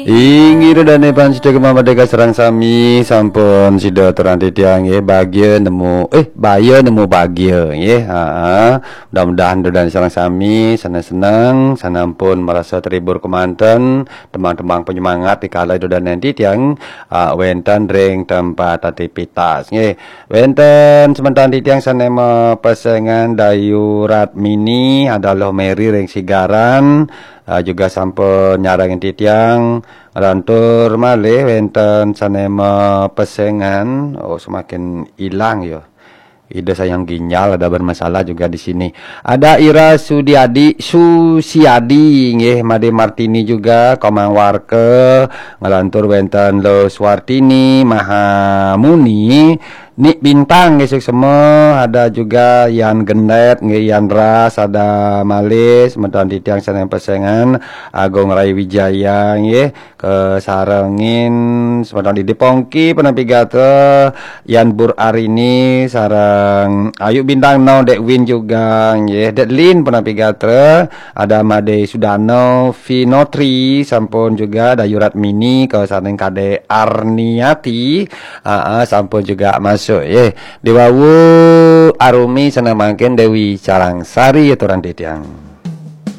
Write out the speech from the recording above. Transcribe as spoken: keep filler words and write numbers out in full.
Inggih, ida dané pamiarsa Gema Merdeka sareng sami, sampun sida aturang titiang nggih, bagia nemu, eh, baya nemu bagia nggih. Ha. Mudah-mudahan ida dané sareng sami seneng-seneng, sané ampun marasa terhibur kemanten, tembang-tembang penyemangat dikala ida dané titiang, ah, wénten ring tempat aktivitas nggih. Wénten semeton titiang sané mapesengan Dayu Ratmini, ada Luh Mary ring Sigaran, ah, juga sampun nyarengin titiang. Nglantur malih wénten sané mapesengan, oh, semakin hilang ya. Ida sayang ginjal ada bermasalah juga di sini. Ada Ira Sudiadi, Susiadi nggih, Made Martini juga, Komang Warka, nglantur wénten Lo Suartini, Mahamuni, Nik Bintang nggih, suksma, ada juga Yan Gendet nggih, Yan Ras, ada malih semeton titiang sané pesengan, Agung Rai Wijaya nggih, kasarengin semeton Didi Pongki punapi gatra, Yan Bur Arini sareng Ayu Bintang Nau, Dek Win juga nggih, Dek Lin punapi gatra, ada Made Sudano, Vinotri sampun juga, Dayu Ratmini kasarengin Kadek Arniati, aa, sampun juga masuk nggih. Diwawu Arumi sané mangkin Dewi Carangsari aturang titiang.